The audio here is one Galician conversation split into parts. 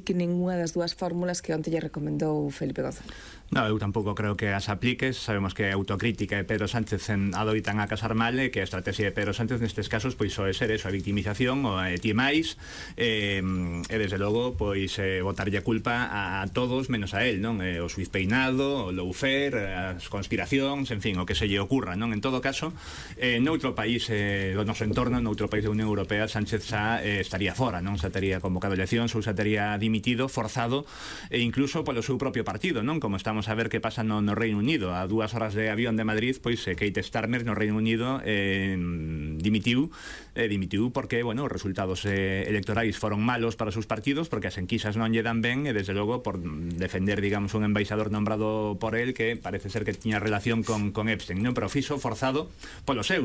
que ninguna das dúas fórmulas que onte lle recomendou Felipe González. No, eu tampouco creo que as apliques. Sabemos que a autocrítica de Pedro Sánchez adoitan a casar mal, e que a estrategia de Pedro Sánchez nestes casos pois é ser eso, a victimización, o ti máis, e desde logo pois botarlle a culpa a todos menos a él, non? O Suiz Peinado, o lawfare, as conspiracións, en fin, o que se lle ocurra, non? En todo caso, noutro país do noso entorno, noutro país da Unión Europea, Sánchez xa estaría fora, non? Xa tería convocado eleccións ou xa tería dimitido, forzado, e incluso polo seu propio partido, non? Como estamos a ver que pasa no Reino Unido. A 2 horas de avión de Madrid, pois Keir Starmer no Reino Unido dimitiu porque, bueno, os resultados electorais foron malos para os seus partidos, porque as enquisas non lle dan ben, e desde logo por defender, digamos, un embaixador nombrado por él que parece ser que tiña relación con Epstein, non? Pero fixo forzado polo seu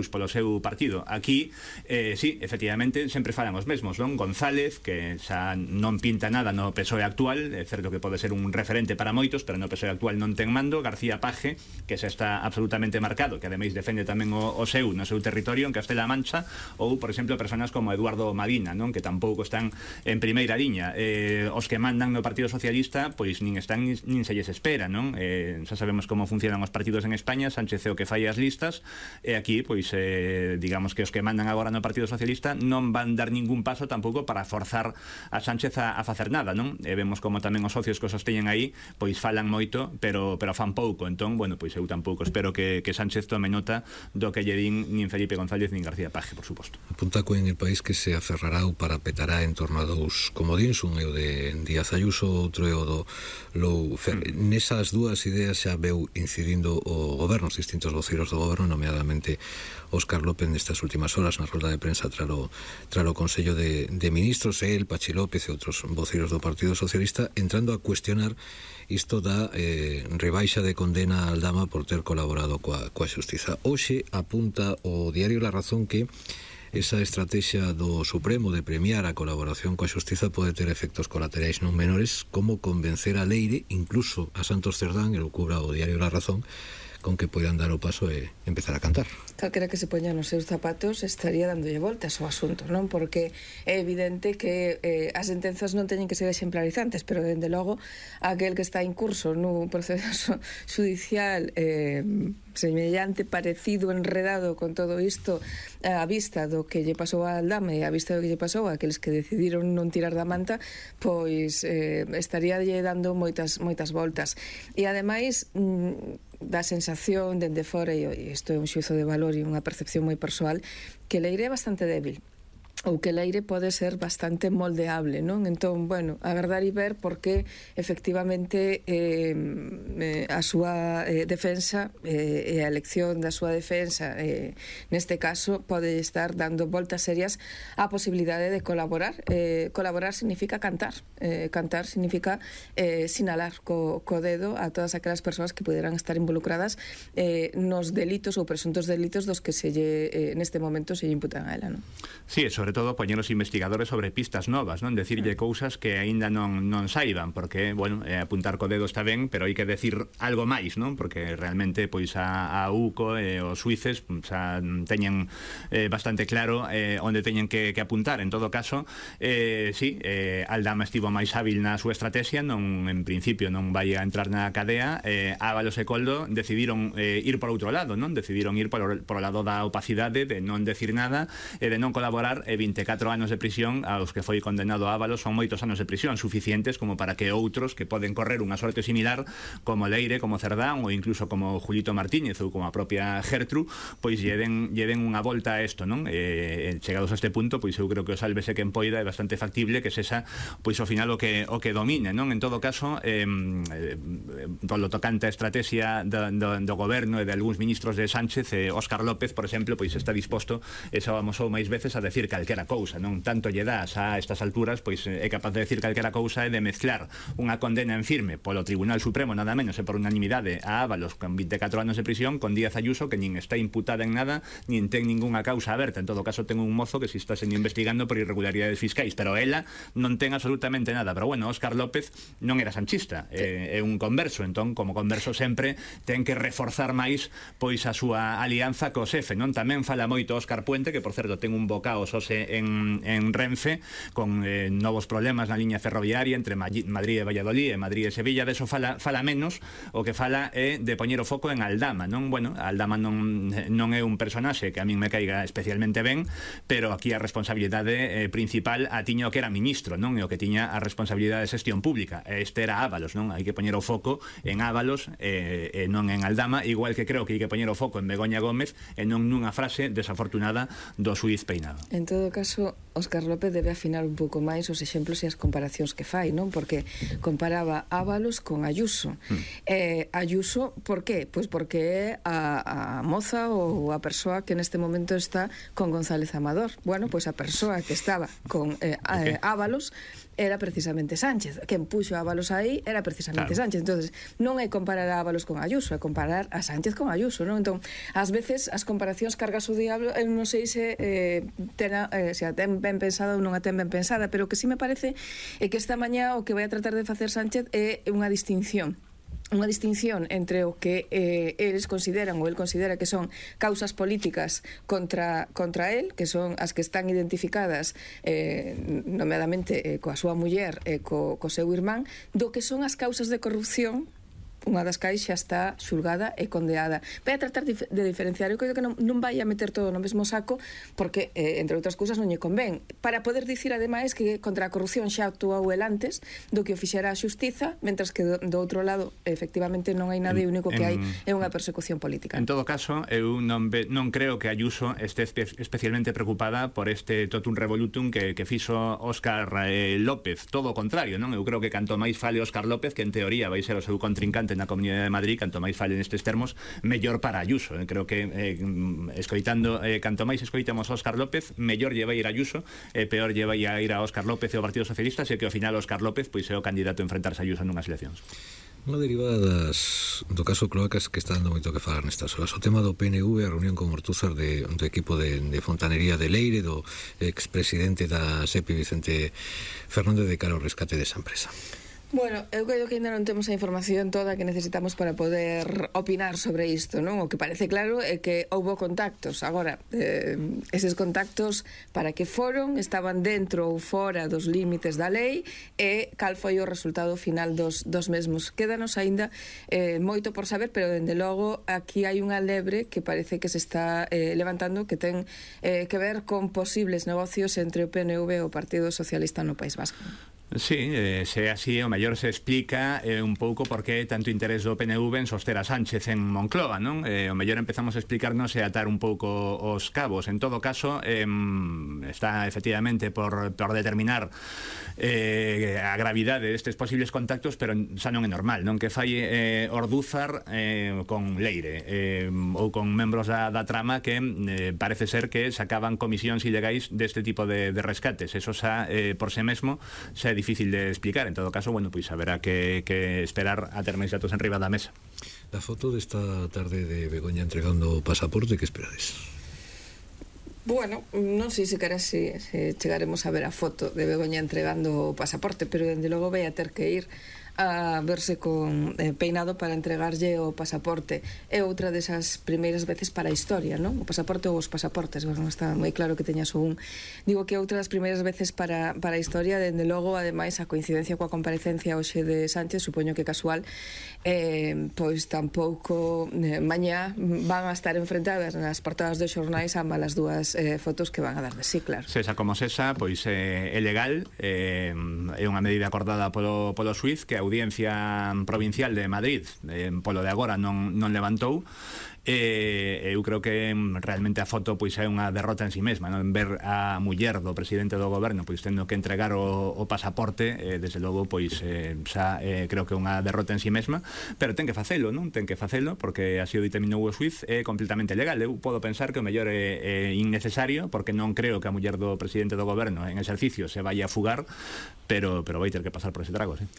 partido. Aquí, sí, efectivamente, sempre falan os mesmos, non? González, que xa non pinta nada no PSOE actual, é certo que pode ser un referente para moitos, pero no PSOE actual non ten mando. García Paje, que xa está absolutamente marcado, que ademais defende tamén o seu no seu territorio en Castela-A Mancha, ou, por exemplo, personas como Eduardo Madina, non? Que tampouco están en primeira liña. Os que mandan no Partido Socialista, pois nin están nin se lles espera, non? Xa sabemos como funcionan os partidos en España. Sánchez é o que fai as listas, e aquí, pois, digamos que os que mandan agora no Partido Socialista non van dar ningún paso tampouco para forzar a Sánchez a facer nada, non? E vemos como tamén os socios que os sosteñen aí, pois falan moito, pero fan pouco. Entón, bueno, pois eu tampouco espero que Sánchez tome nota do que lle din nin Felipe González nin García Paje, por suposto. Apunta en El País que se aferrará ou parapetará en torno a dous comodíns, un é o de Díaz Ayuso, outro é o do lawfare. Nesas dúas ideas xa veu incidindo o goberno, os distintos voceiros do goberno, nomeadamente Óscar López nestas últimas horas na rolda de prensa tralo Consello de Ministros, el, Pachi López e outros voceiros do Partido Socialista, entrando a cuestionar isto da rebaixa de condena a Aldama por ter colaborado coa xustiza. Hoxe apunta o diario La Razón que esa estrategia do Supremo de premiar a colaboración coa xustiza pode ter efectos colaterais non menores, como convencer a Leire, incluso a Santos Cerdán, e lo cubra o diario La Razón, con que poidan dar o paso e empezar a cantar. Calquera que se poña nos seus zapatos estaría dándolle voltas ao asunto, non? Porque é evidente que as sentenzas non teñen que ser exemplarizantes, pero dende logo aquel que está en curso no proceso judicial semellante, parecido, enredado con todo isto, a vista do que lle pasou a Aldama e a vista do que lle pasou a aqueles que decidiron non tirar da manta, pois estaría lle dando moitas voltas. E ademais dá sensación dende fora, e isto é un xuízo de valor e unha percepción moi persoal, que Leire é bastante débil, ou que Leire pode ser bastante moldeable, non? Entón, bueno, agardar e ver porque efectivamente a súa defensa e a elección da súa defensa neste caso pode estar dando voltas serias á posibilidade de colaborar. Colaborar significa cantar, cantar significa sinalar co dedo a todas aquelas persoas que poderán estar involucradas nos delitos ou presuntos delitos dos que neste momento se lle imputan a ela, non? Sí, sobre todo poñer os investigadores sobre pistas novas, non? Decirlle cousas que aínda non saiban, porque, bueno, apuntar co dedo está ben, pero hai que decir algo máis, non? Porque realmente, pois, a UCO e os suíces xa teñen bastante claro onde teñen que apuntar. En todo caso, sí, Aldama estivo máis hábil na súa estrategia, non, en principio non vai a entrar na cadea. Ábalos e Coldo decidiron ir por outro lado, non? Decidiron ir por o lado da opacidade, de non decir nada e de non colaborar. 24 anos de prisión aos que foi condenado Ábalos son moitos anos de prisión, suficientes como para que outros que poden correr unha sorte similar, como Leire, como Cerdán ou incluso como Julito Martínez ou como a propia Gertru, pois lle den unha volta a isto, non? Chegados a este punto, pois eu creo que o sálvese quen poida é bastante factible que sexa pois ao final o que domine, non? En todo caso, polo tocante a estrategia do goberno e de algúns ministros de Sánchez, Óscar López, por exemplo, pois está disposto, e xa vamos ou máis veces a decir calquera cousa, non? Tanto lle das a estas alturas, pois é capaz de decir calquera cousa e de mezclar unha condena en firme polo Tribunal Supremo, nada menos, e por unanimidade a Ábalos con 24 anos de prisión, con Díaz Ayuso, que nin está imputada en nada, nin ten ningunha causa aberta. En todo caso, ten un mozo que si está sendo investigando por irregularidades fiscais, pero ela non ten absolutamente nada. Pero bueno, Óscar López non era sanchista, é un converso, entón, como converso sempre ten que reforzar máis pois a súa alianza co xefe, non? Tamén fala moito Óscar Puente, que por certo ten un bocao sose en Renfe con novos problemas na liña ferroviaria entre Madrid e Valladolid e Madrid e Sevilla. De eso fala menos. O que fala é de poñer o foco en Aldama, non? Bueno, Aldama non é un personaxe que a min me caiga especialmente ben, pero aquí a responsabilidade principal a tiña o que era ministro, non? E o que tiña a responsabilidade de xestión pública. Este era Ábalos, non? Hai que poñer o foco en Ábalos e non en Aldama, igual que creo que hai que poñer o foco en Begoña Gómez e non nunha frase desafortunada do xuíz Peinado. En todo caso, Óscar López debe afinar un pouco máis os exemplos e as comparacións que fai, non? Porque comparaba Ábalos con Ayuso. Ayuso, por qué? Pois porque é a moza ou a persoa que neste momento está con González Amador. Bueno, pois a persoa que estaba con Ábalos era precisamente Sánchez. Quen puxo a Ábalos aí era precisamente Sánchez. Entonces, non é comparar a Ábalos con Ayuso, é comparar a Sánchez con Ayuso, non? Entón, ás veces as comparacións cargas o diablo, eu non sei se se a ten ben pensada ou non a ten ben pensada, pero o que sí me parece é que esta mañá o que vai a tratar de facer Sánchez é unha distinción entre o que eles consideran ou el considera que son causas políticas contra el, que son as que están identificadas nomeadamente coa súa muller e co seu irmán, do que son as causas de corrupción, unha das cais xa está xulgada e condeada. Vai a tratar de diferenciar. Eu creo que non vai a meter todo no mesmo saco porque, entre outras cousas, non lle convén. Para poder dicir, ademais, que contra a corrupción xa actuou el antes do que o fixera a xustiza, mentras que do outro lado, efectivamente, non hai nada e o único que hai é unha persecución política. En todo caso, eu non creo que Ayuso este especialmente preocupada por este totum revolutum que fixo Óscar López. Todo o contrario, non? Eu creo que canto máis fale Óscar López, que en teoría vai ser o seu contrincante na Comunidade de Madrid, canto máis fale nestes termos, mellor para Ayuso. Creo que canto máis escoitamos Óscar López, mellor lle vai ir a Ayuso, peor lle vai a ir a Óscar López e o Partido Socialista, e que ao final Óscar López pois é o candidato a enfrentarse a Ayuso nunhas eleccións. Unha derivada do caso Cloacas que está dando moito que falar nestas horas. O tema do PNV, a reunión con Ortúzar do equipo de fontanería de Leire, do expresidente da SEPI Vicente Fernández, de cara ao rescate desa empresa. Bueno, eu creo que ainda non temos a información toda que necesitamos para poder opinar sobre isto, non? O que parece claro é que houbo contactos. Agora, eses contactos para que foron, estaban dentro ou fora dos límites da lei e cal foi o resultado final dos mesmos. Quédanos aínda moito por saber, pero dende logo aquí hai unha lebre que parece que se está levantando que ten que ver con posibles negocios entre o PNV e o Partido Socialista no País Vasco. Sí, se así o mellor se explica un pouco por que tanto interés do PNV en soster a Sánchez en Moncloa, non? O mellor empezamos a explicarnos e atar un pouco os cabos. En todo caso, está efectivamente por determinar a gravidade destes posibles contactos, pero xa non é normal, non? Que fai Ortúzar con Leire ou con membros da trama que parece ser que sacaban comisións ilegais deste tipo de rescates. Eso xa, por sí mesmo, xa é difícil de explicar. En todo caso, bueno, pois haberá que esperar a ter máis datos en riba da mesa. La foto desta tarde de Begoña entregando o pasaporte, que esperades? Bueno, non sei se chegaremos a ver a foto de Begoña entregando o pasaporte, pero dende logo vai a ter que ir a verse con Peinado para entregarlle o pasaporte. É outra desas primeiras veces para a historia, non? O pasaporte ou os pasaportes, non está moi claro que teñas un. Digo que outra das primeiras veces para a historia, dende logo, ademais, a coincidencia coa comparecencia hoxe de Sánchez, supoño que casual, pois tampouco mañá van a estar enfrentadas nas portadas dos xornais ambas as dúas fotos que van a dar de sí, claro. Sesa como sesa, pois é legal, é unha medida acordada polo xuíz que a Audiencia Provincial de Madrid polo de agora non levantou. Eu creo que realmente a foto pois é unha derrota en si mesma, non? Ver a muller do presidente do goberno pois tendo que entregar o pasaporte, desde logo pois xa creo que é unha derrota en si mesma, pero ten que facelo, non? Ten que facelo porque así o determinou o xuíz, é completamente legal. Eu podo pensar que o mellor é innecesario porque non creo que a muller do presidente do goberno en exercicio se vaya a fugar, pero vai ter que pasar por ese trago, sí.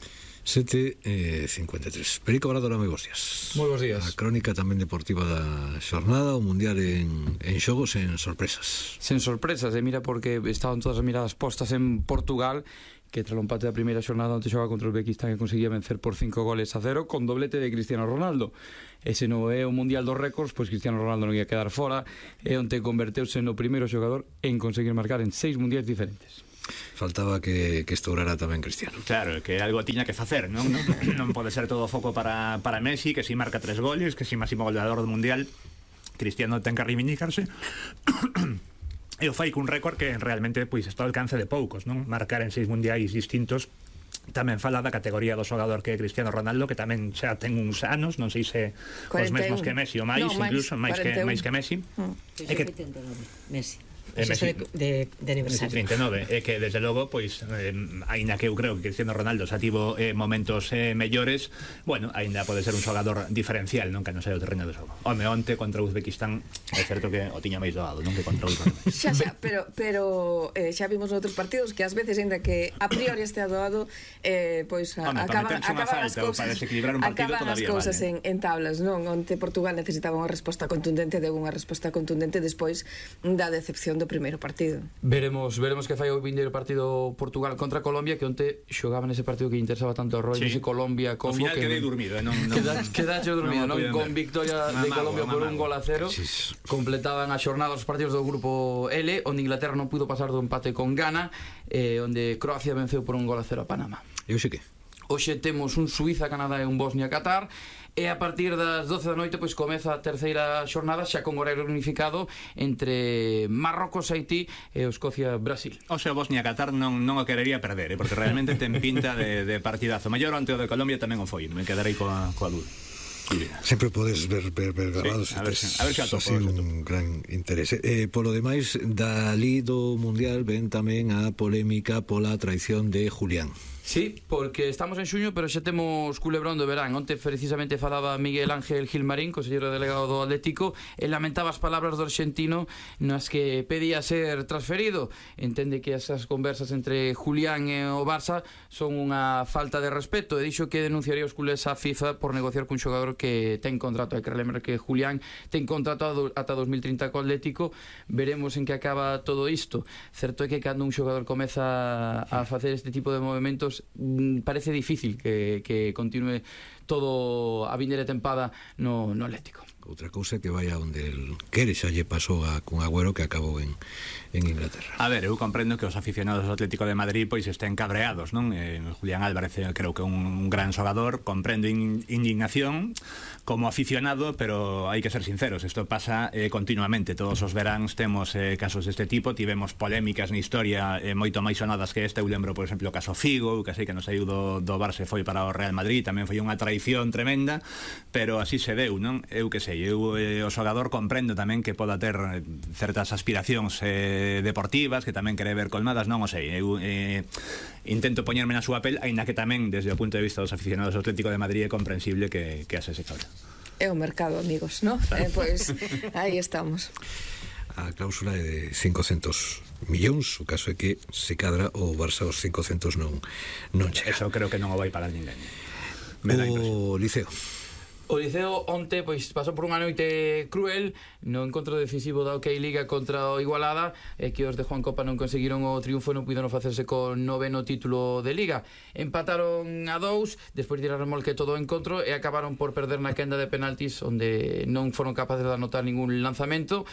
7:53. Perico Obrador, moi bons días. Moi bons días. A crónica tamén deportiva da xornada, o Mundial en xogos, en sorpresas. Sen sorpresas, mira, porque estaban todas as miradas postas en Portugal, que tras o empate da primeira xornada onte xoga contra o Uzbekistán e conseguía vencer por 5-0 con doblete de Cristiano Ronaldo. Ese non é o Mundial dos Récords, pois Cristiano Ronaldo non ia quedar fora e onte converteuse no primeiro xogador en conseguir marcar en 6 mundiais diferentes. Faltaba que estourara tamén Cristiano. Claro, que algo tiña que facer, non? Non pode ser todo foco para Messi, que si marca 3 goles, que si máximo goleador do Mundial. Cristiano ten que reivindicarse. E o fai cun récord que realmente pois está ao alcance de poucos, non? Marcar en 6 mundiais distintos. Tamén fala da categoría do xogador que é Cristiano Ronaldo, que tamén xa ten uns anos, non sei se 41. Os mesmos que Messi ou máis, no, incluso máis que Messi. É que 89, Messi. Messi de aniversario. 39, é que desde logo pois aínda que eu creo que Cristiano Ronaldo xa tivo momentos mellores, bueno, aínda pode ser un xogador diferencial, non que non sei o terreno de xogo. Home, onte contra o Uzbekistán é certo que o tiña máis doado, non que contra o Xa, pero xa vimos noutros partidos que ás veces aínda que a priori este doado pois acaban as cousas en tablas, non? Onte Portugal necesitaba unha resposta contundente, deu unha resposta contundente despois da decepción do primeiro partido. Veremos que fai o vindeiro partido Portugal contra Colombia, que onte xogaba nese partido que interesaba tanto a Roy, ese Colombia Congo. Ao final quedei dormido, quedaxe dormido, non? Con victoria de Colombia por 1-0. Completaban a xornada os partidos do grupo L, onde Inglaterra non pudo pasar do empate con Ghana, onde Croacia venceu por 1-0 a Panamá. E hoxe que? Hoxe temos un Suiza-Canadá e un Bosnia-Qatar, e a partir das 12 da noite pois comeza a terceira xornada xa con horario unificado entre Marrocos, Haití e Escocia-Brasil. O sea, Bosnia-Qatar non o querería perder, porque realmente ten pinta de partidazo. Maior ante o de Colombia tamén o foi, me quedarei coa dúda. Sempre podes ver grabados, sí, a ver se atopo un gran interese. Polo demais, dali do Mundial ven tamén a polémica pola traición de Julián. Sí, porque estamos en xuño, pero xa temos culebrón do verán. Onte precisamente falaba Miguel Ángel Gilmarín, conselleiro delegado do Atlético, e lamentaba as palabras do arxentino nas que pedía ser transferido. Entende que esas conversas entre Julián e o Barça son unha falta de respeto, e dixo que denunciaría os culés á FIFA por negociar cun xogador que ten contrato. Hai que lembrar que Julián ten contrato ata 2030 co Atlético. Veremos en que acaba todo isto. Certo é que cando un xogador comeza a facer este tipo de movimentos parece difícil que continue todo a vindeira tempada no Atlético. Outra cousa que vai a onde el quere, xa lle pasou con Agüero, que acabou en Inglaterra. A ver, eu comprendo que os aficionados do Atlético de Madrid pois estén cabreados, non? Julián Álvarez creo que é un gran xogador, comprendo indignación como aficionado, pero hai que ser sinceros, isto pasa continuamente, todos os veráns temos casos deste tipo, tivemos polémicas na historia moito máis sonadas que esta. Eu lembro, por exemplo, o caso Figo, que sei que non saiu do Barça, foi para o Real Madrid, tamén foi unha traición tremenda, pero así se deu, non? Eu que sei, eu o xogador comprendo tamén que poda ter certas aspiracións deportivas que tamén quere ver colmadas, non o sei, eu intento poñerme na súa pel, aínda que tamén desde o punto de vista dos aficionados do Atlético de Madrid é comprensible que ase se cabra. É o mercado, amigos, ¿no? Pois aí estamos. A cláusula é de 500 millóns, o caso é que se cadra o Barça os 500 non chega. Eso creo que non o vai pagar ninguén. O Liceo. O Liceo onte pois pasou por unha noite cruel no encontro decisivo da OK Liga contra o Igualada, que os de Juan Copa non conseguiron o triunfo, non puideron facerse con 9º título de Liga. Empataron a 2 despois de ir a remolque todo o encontro e acabaron por perder na quenda de penaltis, onde non foron capaces de anotar ningún lanzamento,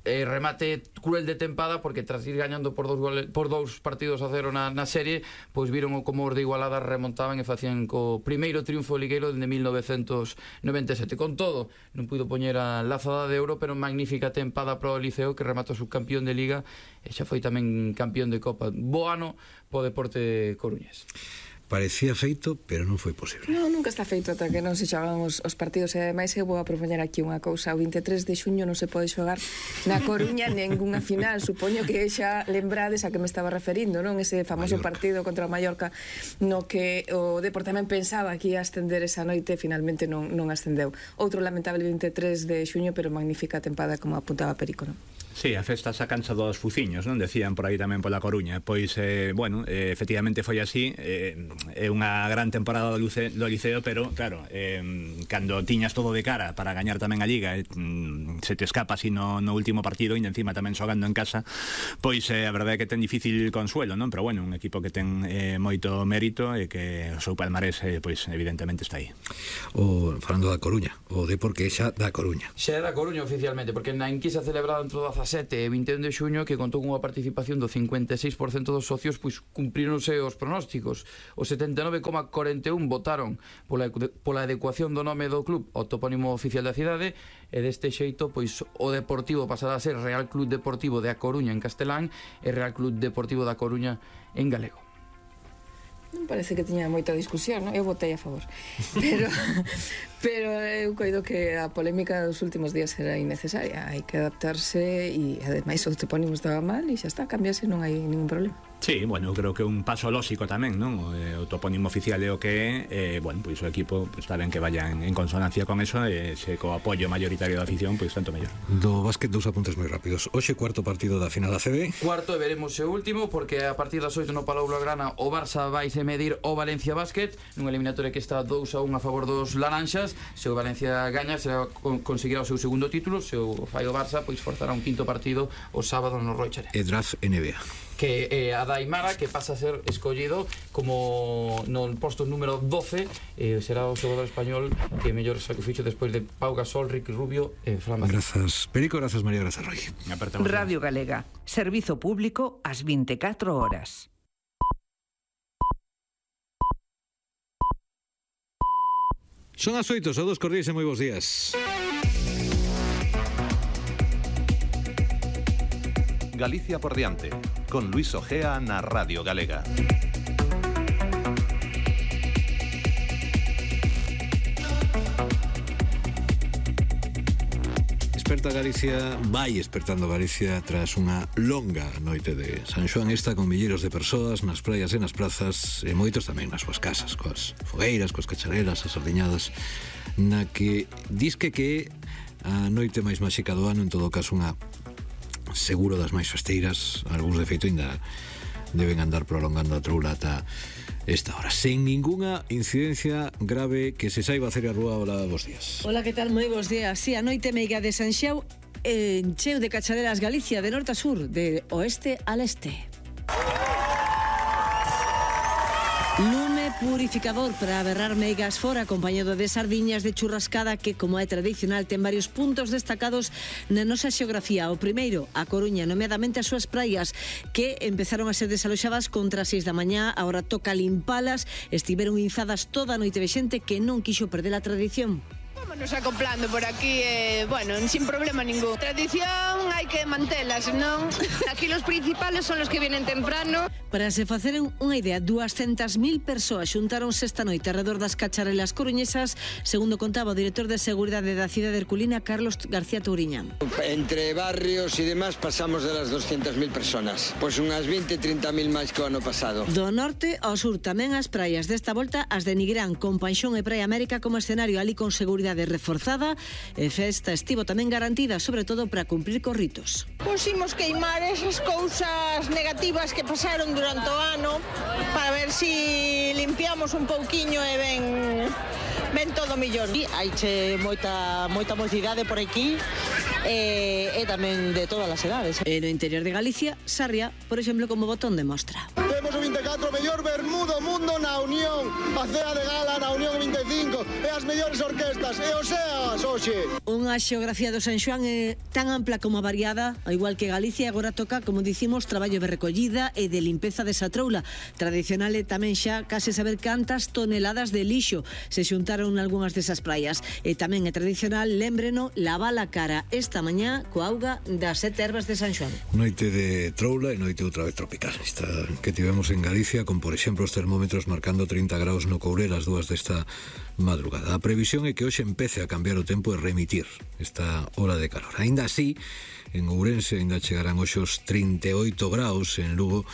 e remate cruel de tempada, porque tras ir gañando por 2 partidos a 0 na serie, pois viron como os de Igualada remontaban e facían co primeiro triunfo ligueiro dende 1997. Con todo, non puido poñer a lazada de ouro, pero magnífica tempada para o Liceo, que rematou subcampión de Liga e xa foi tamén campión de Copa. Bo ano po Deporte Coruñés. Parecía feito, pero non foi posible. Non, nunca está feito ata que non se xogan os partidos. E ademais eu vou a propoñer aquí unha cousa. O 23 de xuño non se pode xogar na Coruña ningunha final. Supoño que xa lembrades a que me estaba referindo, non? Ese famoso partido contra o Mallorca, no que o Depor tamén pensaba que ia ascender esa noite, finalmente non ascendeu. Outro lamentable 23 de xuño, pero magnífica tempada, como apuntaba Perico, non? Sí, a festa sa cancha dos fuciños, non? Decían por aí tamén pola Coruña. Pois, bueno, efectivamente foi así. É unha gran temporada do Liceo, pero, claro, cando tiñas todo de cara para gañar tamén a Liga, se te escapa así no último partido, e encima tamén xogando en casa, pois a verdade é que ten difícil consuelo, non? Pero, bueno, un equipo que ten moito mérito e que o seu palmarés, pois, evidentemente está aí. Falando da Coruña, o Depor que é xa da Coruña. Xa é da Coruña oficialmente, porque na enquisa celebrada entre o 17 e 21 de xuño, que contou con unha participación do 56% dos socios, pois cumpríronse os pronósticos. Os 79,41 votaron pola adecuación do nome do club ao topónimo oficial da cidade, e deste xeito, pois o Deportivo pasará a ser Real Club Deportivo de A Coruña en castelán e Real Club Deportivo da Coruña en galego. Non parece que tiña moita discusión, non? Eu votei a favor. Pero eu coido que a polémica dos últimos días era innecesaria. Hai que adaptarse e, ademais, o topónimo estaba mal e xa está, cambiase, non hai ningún problema. Sí, bueno, creo que un paso lógico tamén, non? O topónimo oficial é o que é, bueno, pois o equipo está ben que vaya en consonancia con eso, e se co apoio mayoritario da afición, pois tanto mellor. Do básquet, dous apuntes moi rápidos. Hoxe, cuarto partido da final da CB. Cuarto, e veremos o último, porque a partir das 8 no Palau Blaugrana o Barça vaise medir o Valencia Basket, nunha eliminatoria que está 2-1 a favor dos laranxas. Se o Valencia gaña, será conseguirá o seu segundo título. Se o fai o Barça, pois forzará un quinto partido o sábado no Roichere. E draft NBA. Que é a Daimara, que pasa a ser escollido como no posto número 12, será o xogador español que mellor sacrificio despois de Pau Gasol, Ricky Rubio e Fran Vázquez. Grazas, Perico, grazas, María, grazas, Roy. Radio Galega, servizo público ás 24 horas. Son as 8, saúdos cordiais e moi bons días. Galicia por diante, con Luis Ojea na Radio Galega. Desperta Galicia, vai despertando Galicia tras unha longa noite de San Xoán, esta con milleiros de persoas nas praias e nas plazas, e moitos tamén nas súas casas, coas fogueiras, coas cachareras, as sardiñadas, na que disque que a noite máis máxica do ano, en todo caso unha seguro das máis festeiras. Algúns de feito ainda deben andar prolongando a troula ata esta hora, sen ningunha incidencia grave que se saiba hacer a rúa. Hola, bons días. Hola, que tal? Moi bons días. Si, a noite meiga de Sanxeu encheu de cachareras Galicia de norte a sur, de oeste a leste. Lume purificador para berrar meigas fora, acompañado de sardiñas de churrascada que, como é tradicional, ten varios puntos destacados na nosa xeografía. O primeiro, a Coruña, nomeadamente as súas praias, que empezaron a ser desaloxadas contra as 6 da mañá, agora toca limpalas, estiveron inzadas toda a noite de xente que non quixo perder a tradición. Vámonos acoplando por aquí, bueno, sin problema ningún. Tradición hai que mantela, senón aquí los principales son los que vienen temprano. Para se faceren unha idea, 200.000 persoas xuntáronse esta noite alrededor das cacharelas coruñesas, segundo contaba o director de Seguridade da cidade herculina, Carlos García Touriña. Entre barrios e demás pasamos de las 200.000 personas, pois unhas 20-30.000 máis que o ano pasado. Do norte ao sur tamén as praias, desta volta as de Nigrán, con Panxón e Praia América como escenario, ali con seguridade reforzada, e festa estivo tamén garantida, sobre todo para cumprir cos ritos. Pusimos queimar esas cousas negativas que pasaron durante o ano para ver si limpiamos un pouquiño e ben todo millón. Haiche moita mocidade por aquí e tamén de todas as edades. E no interior de Galicia, Sarria, por exemplo, como botón de mostra. Temos o 24 mellor Bermú do mundo na Unión, a cea de gala na Unión 25 e as mellores orquestas e o SEAS hoxe. Unha xeografía do San Xoán é tan ampla como variada, ao igual que Galicia, agora toca, como dicimos, traballo de recollida e de limpeza desa troula. Tradicional é tamén xa case saber cantas toneladas de lixo se xuntaron algunhas desas praias. E tamén é tradicional, lémbreno, lavar a cara esta mañá coa auga das 7 ervas de San Xoán. Noite de troula e noite outra vez tropical, esta que tivemos en Galicia, con, por exemplo, os termómetros marcando 30 graus no Courel as 2 desta madrugada. A previsión é que hoxe empece a cambiar o tempo e remitir esta ola de calor. Aínda así, en Ourense ainda chegarán hoxe os 38 graus, en Lugo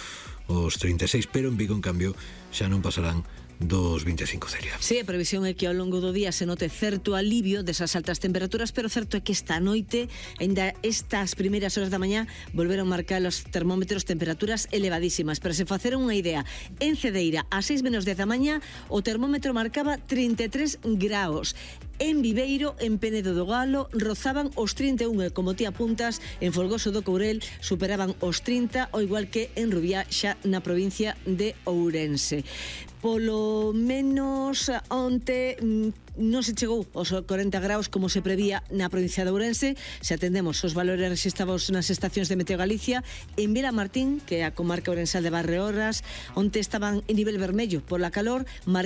os 36, pero en Vigo, en cambio, xa non pasarán dos 25, Celia. Sí, a previsión é que ao longo do día se note certo alivio desas altas temperaturas, pero certo é que esta noite, ainda estas primeiras horas da mañá, volveron marcar os termómetros temperaturas elevadísimas. Pero se faceron unha idea, en Cedeira, a 6 menos 10 da mañá, o termómetro marcaba 33 graus. En Viveiro, en Penedo do Galo, rozaban os 31 e, como ti apuntas, en Folgoso do Courel superaban os 30, ao igual que en Rubiá, xa na provincia de Ourense. Polo menos onte non se chegou aos 40 graus como se prevía na provincia de Ourense. Se atendemos os valores rexistrados nas estacións de Meteo Galicia, en Vilamartín, que é a comarca ourensal de Barreorras, onte estaban en nivel vermello pola calor, marcaron